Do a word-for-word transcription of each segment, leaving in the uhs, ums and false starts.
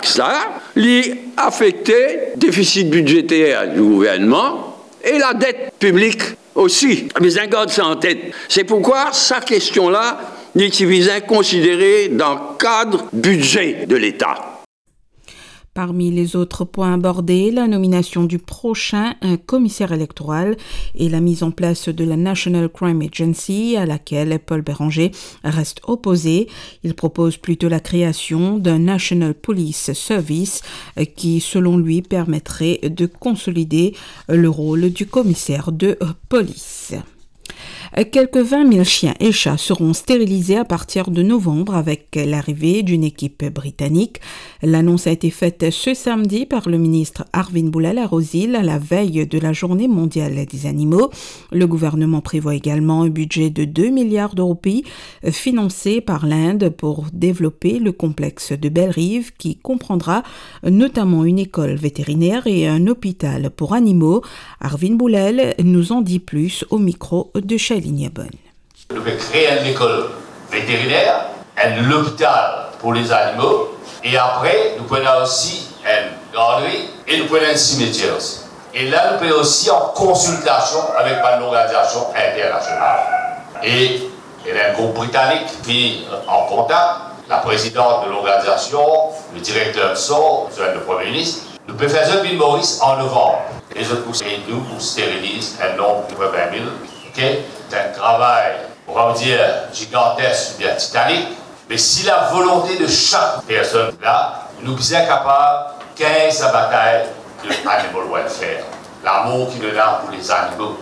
Sa, li afekte defisit bidzeter di gouvernman e ladet piblik osi. Bizin gard sa an tet. Se pourkwa sa kestion la, li ti bizin konsidere dan kad bidze de Leta. Parmi les autres points abordés, la nomination du prochain, euh, commissaire électoral et la mise en place de la National Crime Agency, à laquelle Paul Bérenger reste opposé. Il propose plutôt la création d'un National Police Service, euh, qui, selon lui, permettrait de consolider, euh, le rôle du commissaire de, euh, police. Quelques vingt mille chiens et chats seront stérilisés à partir de novembre avec l'arrivée d'une équipe britannique. L'annonce a été faite ce samedi par le ministre Arvind Boolal à Rose Hill à la veille de la Journée mondiale des animaux. Le gouvernement prévoit également un budget de deux milliards de roupies, euh, financé par l'Inde pour développer le complexe de Bellerive qui comprendra notamment une école vétérinaire et un hôpital pour animaux. Arvind Boolal nous en dit plus au micro de Shailini Abon. Nou pe kree enn lekol veteriner, enn lopital pou lezanimo, e apre nou pou ena osi enn gardri e nou pou ena enn simetier osi. E la nou pe osi an konsiltasion avek bann lorganizasion internasional. E ena enn group britanik ki an kontak, la prezidant de lorganizasion, le direkter so, zwenn le Premie Minis, nou pe fer zot vinn Moris an novanm. E zot pou ed nou pou steriliz enn nonb de vin mil, ok? Se enn travay, on va dire, gigantesk oubien titanik, me si la volonte de sak personn la, nou bizin kapav gagn sa batay de animal welfare, lamour ki nou ena pou lezanimo.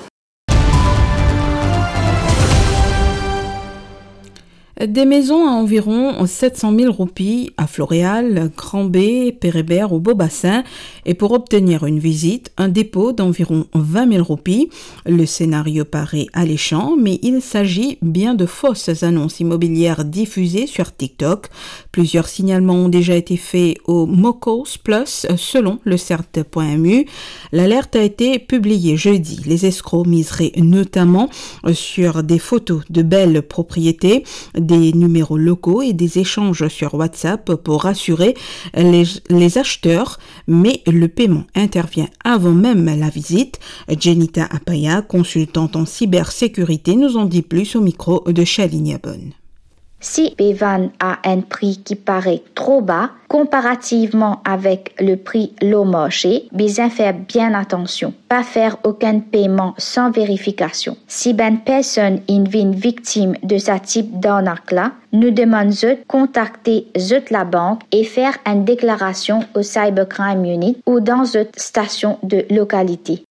Des maisons à environ sept cent mille roupies à Floréal, Grand-Baie, Père Hébert ou Beau-Bassin, et pour obtenir une visite, un dépôt d'environ vingt mille roupies. Le scénario paraît alléchant, mais il s'agit bien de fausses annonces immobilières diffusées sur TikTok. Plusieurs signalements ont déjà été faits au Mokos Plus, selon le cert point M U. L'alerte a été publiée jeudi. Les escrocs miseraient notamment, euh, sur des photos de belles propriétés, des numéros locaux et des échanges sur WhatsApp pour rassurer les, les acheteurs, mais le paiement intervient avant même la visite. Jenita Apaya, consultante en cybersécurité, nous en dit plus au micro de Shailini Abon. Si pe vann a enn pri ki parey tro ba, konparativman avek le pri lor marse, bizin fer bien atansion, pa fer okenn peyman san verifikasion. Si bann personn inn vinn viktim de sa tip darnak la, nou demann zot kontakte zot labank e fer enn deklarasion au Cybercrime Unit ou dan zot stasion de lokalite.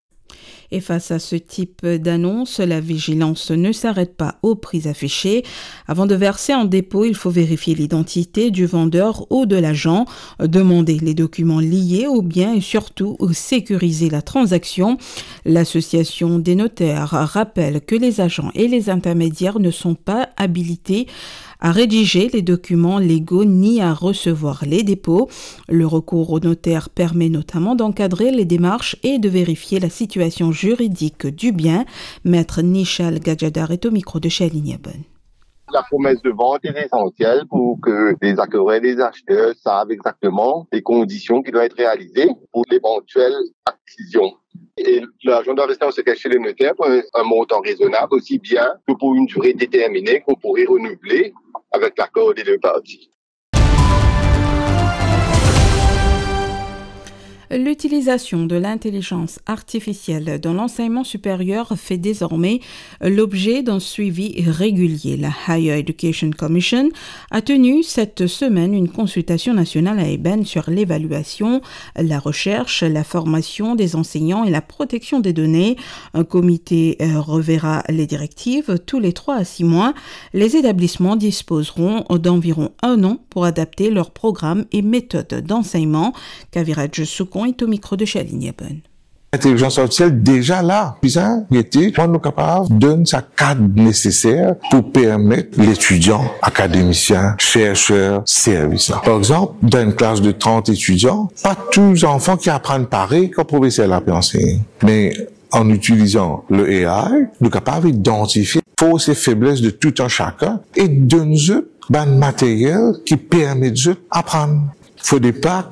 Et face à ce type d'annonce, la vigilance ne s'arrête pas aux prix affichés. Avant de verser un dépôt, il faut vérifier l'identité du vendeur ou de l'agent, demander les documents liés ou bien et surtout sécuriser la transaction. L'Association des notaires rappelle que les agents et les intermédiaires ne sont pas habilités à rédiger les documents légaux ni à recevoir les dépôts. Le recours au notaire permet notamment d'encadrer les démarches et de vérifier la situation juridique du bien. Maître Nishal Gadjadar est au micro de Shailini Abon. La promesse de vente est essentielle pour que les acquéreurs et les acheteurs savent exactement les conditions qui doivent être réalisées pour l'éventuelle acquisition. Et l'argent doit rester en secret chez le notaire pour un, un montant raisonnable, aussi bien que pour une durée déterminée qu'on pourrait renouveler avec l'accord des deux parties. L'utilisation de l'intelligence artificielle dans l'enseignement supérieur fait désormais l'objet d'un suivi régulier. La Higher Education Commission a tenu cette semaine une consultation nationale à Eben sur l'évaluation, la recherche, la formation des enseignants et la protection des données. Un comité, euh, reverra les directives tous les trois à six mois. Les établissements disposeront d'environ un an pour adapter leurs programmes et méthodes d'enseignement. Kaviraj Soukon est au micro de Shailini Abon. L'intelligence artificielle déjà la, bizin rete, kouma nou kapav donn sa kad neseser pou permet letidian, akademisien, chercher servi sa. Par exanp, dan enn klas de trant etidian, pa tou zanfan ki aprann parey kan profeser la pe ansegn. Me an itilizan le A I, nou kapav idantifie fors e febles de tou enn sakenn e donn zot bann materiel ki permet zot aprann. Fode pa